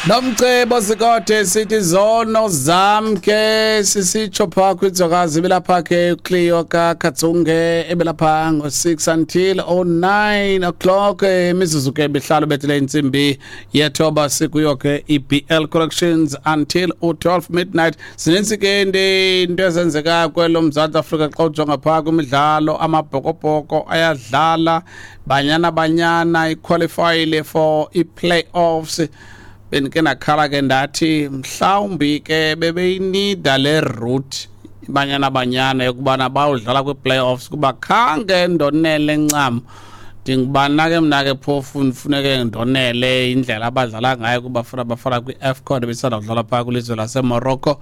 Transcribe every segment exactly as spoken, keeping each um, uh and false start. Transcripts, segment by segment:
Nomcebo Sikode sithi zono zam ke sisitsho phaa kwinzwakazi ebelapha ke uCleo kaKatsonge ebelapha ngo-six until o-nine o'clock, imizuzu ke mihlanu bethile intsimbi yethoba. Sikuyo ke i-B L Corrections until u-twelve midnight. Zininzi ke into ezenzekayo kwelo Mzantsi Afrika. Xa ujonga phaa kwimidlalo, Amabhokobhoko ayadlala, Banyana Banyana iqualifyile for i-playoffs. Bendike ndakhala ke ndathi mhlawumbi ke bebeyinida le route iBanyana Banyana yokubana bayodlala kwii-playoffs, kuba khange ndonele ncam. Ndingubana ke mna ke phofu ndifuneke ndonele indlela abadlala ngayo kuBafana Bafana kwi-AFCON ebisanda kudlala phaa kwilizwe laseMorocco.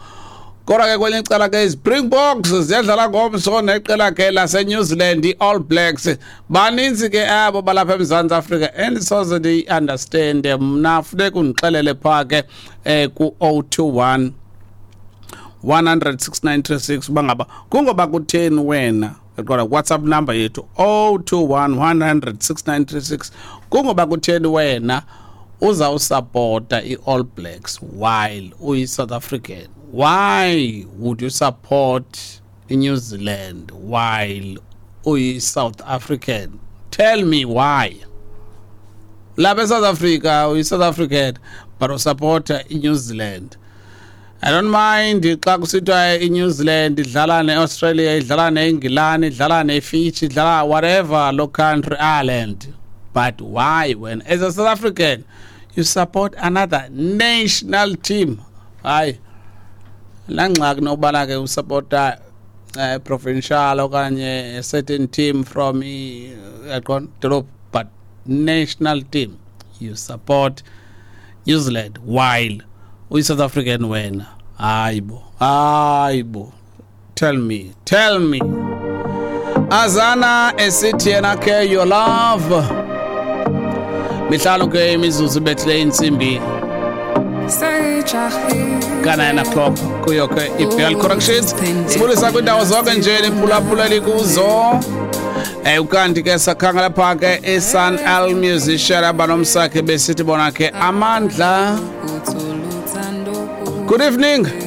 Kodwa ke kwelinye icala ke iSpringboks ziyadlala ngomso neqela ke laseNew Zealand, i-All Blacks. Baninzi ke abo balapha eMzantsi Afrika endisoze ndiyi-understande mna. Funeka undixelele phaa ke um ku-oh two one one hundred six nine three six uba ngaba kungoba kutheni wena. Kodwa WhatsApp number yethu oh two one one hundred six nine three six. Kungoba kutheni wena uzawusapota i-All Blacks while uyi-South African? Why would you support iNew Zealand while uyi-South African? Tell me why. Lapha eSouth Africa uyi-South African but usupporta iNew Zealand. I don't mind xa kusithiwa iNew Zealand idlala neAustralia, idlala neEngilani, idlala neFiji, idlala whatever lo country, Ireland, but why when as a South African you support another national team? Hayi, laa ngxaki nokubana ke usupporta uh, provincial okanye a certain team from yaqona dolophu, but national team you support New Zealand while uyi-South African wena. Hayi bo, hayi bo, tell me, tell me. Azana esithi yena ke "Your Love". Mihlanu ke imizuzu ibethile intsimbi ka-nine o'clock kuyo ke i-B L Corrections. Sibulisa kwiindawo zonke nje niphulaphula likuzo. Eh ukanti ke sakhangela phaa ke iSun L Musician abanomsakhe besithi bona ke "Amandla". Good evening.